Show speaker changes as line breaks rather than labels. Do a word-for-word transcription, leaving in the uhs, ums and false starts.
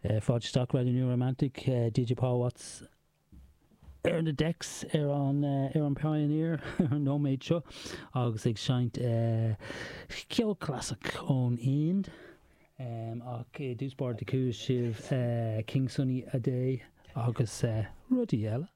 Fáilte isteach Radio New Romantic DJ Paul Watts ar na decks ar an ar an Pioneer ar an nóiméad seo agus ag seinnt ceol clasaiceach ón Ind. Um, ach i dtús báire chuala sibh King Sunny Adé agus rudaí eile.